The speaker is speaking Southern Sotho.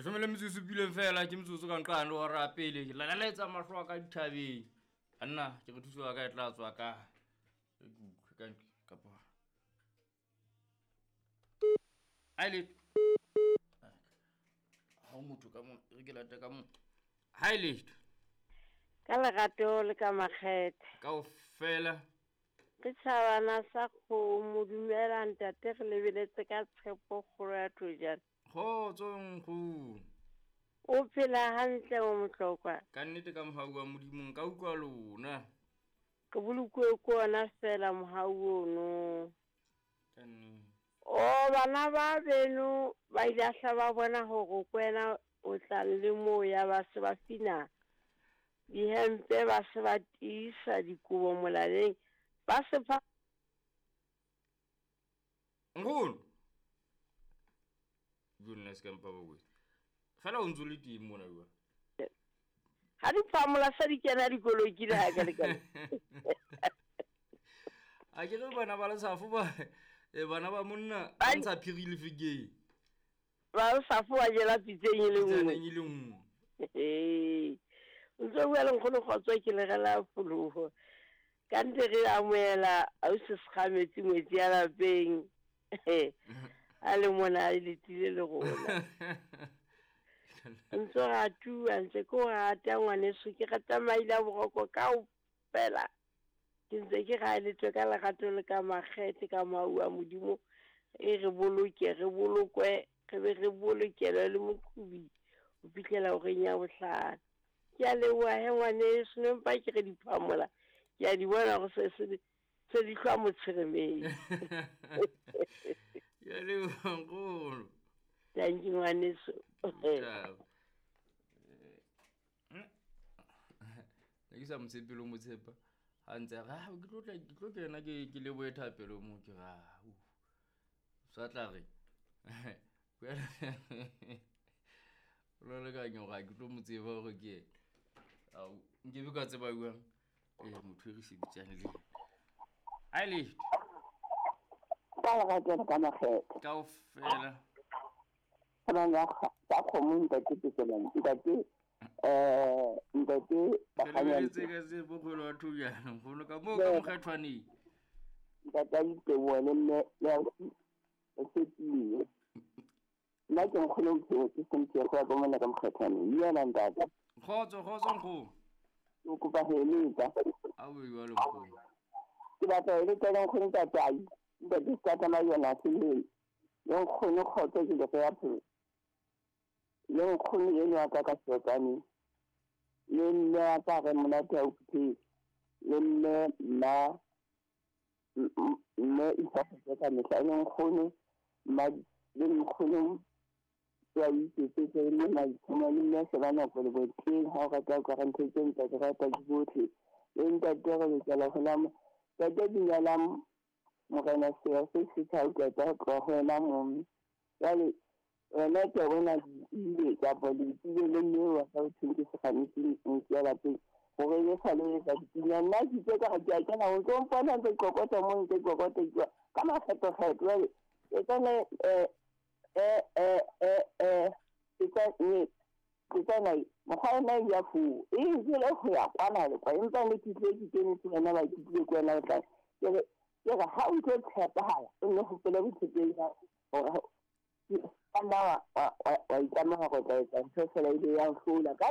Leshome le metsotso e supileng fela ke metsotso ka nqane hora ya pele. Ke lalaletsa mahlo a ka dithabeng. Anna ke re thuso ya ka e tla tswa ka. E ke utlwe ka ntle kapa. Ha e letho. Ha o motho ka mona, e re ke late ka mona. Ha e letho. Ka lerato le ka makgethe. Kaofela. Ke tjhabana sa kgomo, dumela ntate re lebeletse ka tshepo kgolo ya thojana. Kgotso nkgono. O phela hantle mo Motlokwa? Ka nnete ka mohau wa Modimo nka utlwa lona. Ke bolokuwe ke ona fela mohau ono. Ka nnete. O bana ba beno ba ile hla ba bona hore kwena o tla le moo ya ba se ba fina dihempe ba se ba tiisa dikobo molaleng ba se pha. Nkgono. Jo nna se ka mpa ba kotsi. Fela o ntse o le teng mona jwale. Ha di phamola sa di kena dikoloi ke le ha ka le ka. A ke re bana ba lesafo ba bana ba monna ba ntsha phiri le fekeng. Ba lesafo ba jela pitseng e le nngwe. Pitseng e le nngwe. Ee. O ntse o bua le nkgono kgotso ke le rela pholoho. Ka ntle re amohela ausi Sekgametsi ngwetsi ya lapeng. A le mona a letile le rona. Ntse o ratuwa, ntse ke o rata ngwaneso, ke rata maile a boroko kaofela. Ke ntse ke ra letswe ka lerato le ka makgethe ka mohau wa Modimo. E re boloke, re bolokwe, re be re bolokelwe le moqhubi ho fihlela horeng ya bohlano. Ke a leboha he ngwaneso, ne mpa ke re di phamola. Ke a di bona hore se se se di hlwa motshweremeng. Ke a leboha nkgono. Thank you ngwaneso. Ciao. Ne ke sa mo tshepe le ho mo tshepa. Ha ntse a re, "Ah, ke tlo tla, ke tlo kena ke ke lebohe thapelo mo." Ke re, "Ah, uh." Sa tla re. O lo lekanya hore ha ke tlo mo tseba hore ke yena. Ao, nkebe ka tseba jwang? Motho e re sebetsang le yena. Ha e letho. Ka lerato le ka makgethe. Kaofela. Bana ba kgomo ntate Pekelane, ntate ntate Re lebeletse ka se bokgolo wa thojana nkgono ka moo ka mokgethwaneng. Ntate a diteboho le mme le ausi o tshepile. Nna ke nkgono bophelo ke Cynthia go ya ka mona ka mokgethwaneng. Dumela ntate. Kgotso, kgotso nkgono. Ke kopa ho eletsa. A o jwalo nkgono. Ke batla ho eletsa le nkgono ntate ai. Ntate se ka tsamaya yona seleng. Le nkgono kgotso ke le ya phelo. Le nkgono eno wa ka ka seotsane. Le mme wa ka re monate ha o phuthehile. Le mme mma mme isa ka mehla le nkgono mma le nkgono ya iketsetse le maitshoma le mme se ba nako le boteng ha o rata o ka re ntho tse ntle ke rata ke botlhe. Le ntate re lokela ho lama ntate dumelang morena seya se se tsa utlwa tsa tloha ho wena momme. Jwale wena ke a bona le kapa le tsile le mme wa ka o thweng ke Sekgametsi motse ya lapeng hore e sa le etsa dipina. Nna ke itse ka re ke a kena ho tlo mpona ntse kokota mo ntse kokota ke ka makgetlo-kgetlo. Jwale e tsana ke tsana mokgwa ona ya foo e jele ho ya kwana le kwa empa ne ke tlile ke kene ke wena ba ke tlile ke wena o tla ke re ha o tlo tshepahala o nne hopole botshepehi ba hore ka nna wa itlama hore o tla etsa ntho fela e be ya hlola ka.